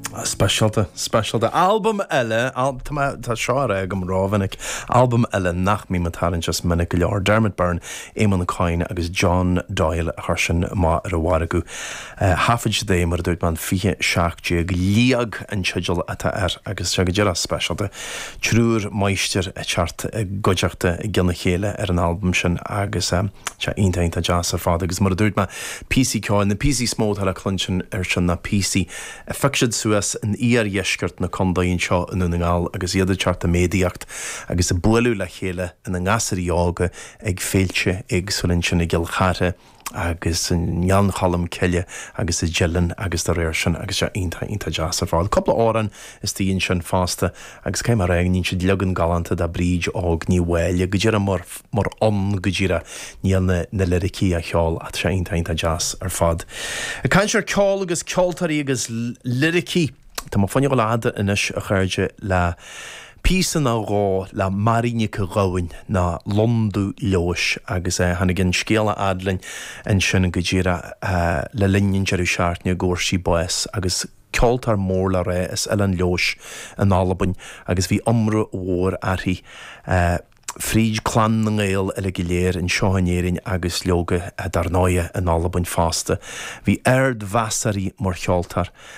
Speisialta, speisialta. Albam eile, tá mé, tá seo á rá agam rómhinic, albam eile nach mbím ag tarraingt as minic go leor, Dermot Byrne, Eamonn Coyne agus John Doyle a chuir sin amach ar an mhargadh. Thaifead siad é, mar a dúirt mé, an 2017, Liag an teideal atá air agus tá sé go díreach speisialta. Triúr máistir ag teacht i gcuideachta i gcionn a chéile ar an albam sin agus tá sé iontach, iontach deas ar fad agus mar a dúirt mé, píosaí ceoil, na píosaí is mó atá le cluinstin air sin ná píosaí a phioc siad suas in iardheisceart na contae anseo i nDún na nGall agus iad ag teacht i méadaíocht agus ag bualadh le chéile ina ngasúirí óga ag féilte éagsúla ansin i gCill Chartha agus i nGleann Cholm Cille agus i dTeileann agus dá réir sin agus sé iontach iontach deas ar fad. Cúpla amhrán istigh ansin fosta agus caithfidh mé a rá go ndéanann siad leagan galánta de Bríd Óg Ní Mháille go díreach mar mar fhonn go díreach níl na na liricí á cheol ach tá sé iontach iontach deas ar fad. Ag caint ar ceol agus ceoltóirí agus liricí, tá mé fá choinne dhul a fhad anois a chairde le píosa nó dhó le Mary Nic Gabhann nó Londubh Leodhais agus tháinig an scéal a fhad linn ansin go díreach le linn an deireadh seachtaine go bhfuair sí bás agus ceoltóir mór le rá as Oileán Leodhais in Albain agus bhí iomramh mhór uirthi fríd clann na nGael uile go léir anseo in Éirinn agus leoga dar ndóighe in Albain fosta. Bhí ard-mheas uirthi mar cheoltóir.